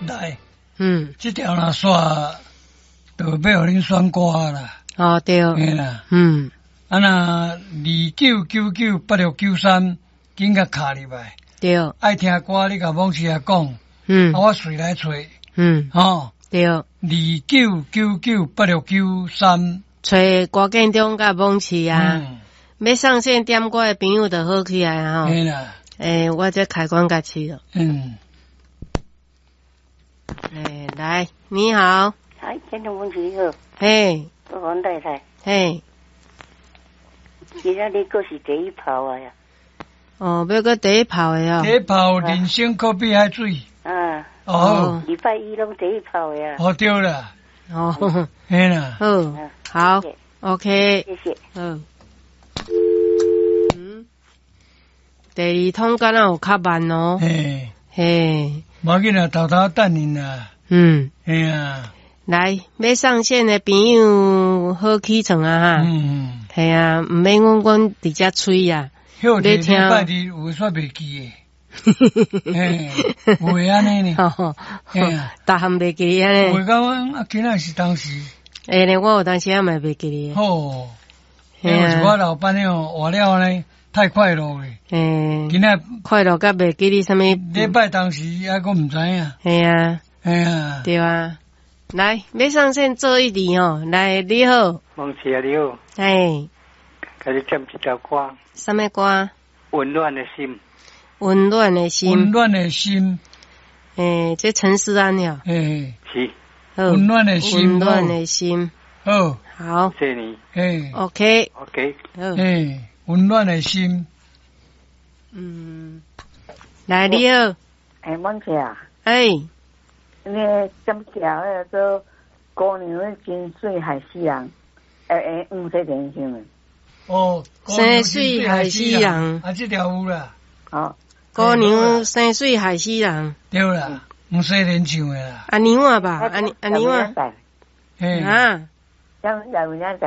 來，這條若煞，就欲予恁選歌啦。哦對，嘿啦。啊若29998693，緊共敲入來。愛聽歌，你共網士仔講。啊，我隨來揣。吼。對。29998693。揣郭建中佮網士啊。欲上線點歌的朋友就好起來吼。嘿啦。欸，我這開關共試了。欸，來，你好。哎，建中文你好。嘿。我黃太太。嘿。今仔日閣是第一炮的呀。哦，欲閣第一炮的哦。第一炮，人生可比海水。啊。哦。禮拜一攏第一炮的呀。哦，對啦。哦。嘿啦。好，好，OK。謝謝。嗯。第二通敢若有較慢哦。嘿。嘿。無要緊啦，偷偷等𪜶啦。嘿啊。來，欲上線的朋友好起床啊哈。嘿啊，毋免阮阮佇遮催啊。歇禮拜二有煞袂記的。嘿，有會按呢呢。嘿啊。逐項袂記得按呢。有感覺啊，今仔是當時。會呢，我有當時仔嘛袂記得。好。因為我老闆哦，活了呢，太快樂了。今仔快樂甲袂記得啥物。禮拜當時猶閣毋知影。嘿啊。嘿啊。對啊。來，欲上線做一題哦。來，你好。孟琪啊，你好。嘿。共你點一條歌。啥物歌？溫暖的心。溫暖的心。溫暖的心。欸，這陳勢安了。欸。是。溫暖的心。溫暖的心。好。好。謝謝你。欸。 OK。 OK。好。欸，溫暖的心。來，你好。欸，孟琪啊。欸。你點條彼個做姑娘真媠害死人，欸欸，黃西蓮唱的。哦，生媠害死人。啊，這條有啦。哦，姑娘生媠害死人。對啦，黃西蓮唱的啦。阿娘啊吧，阿阿娘啊。嘿。啊。有有影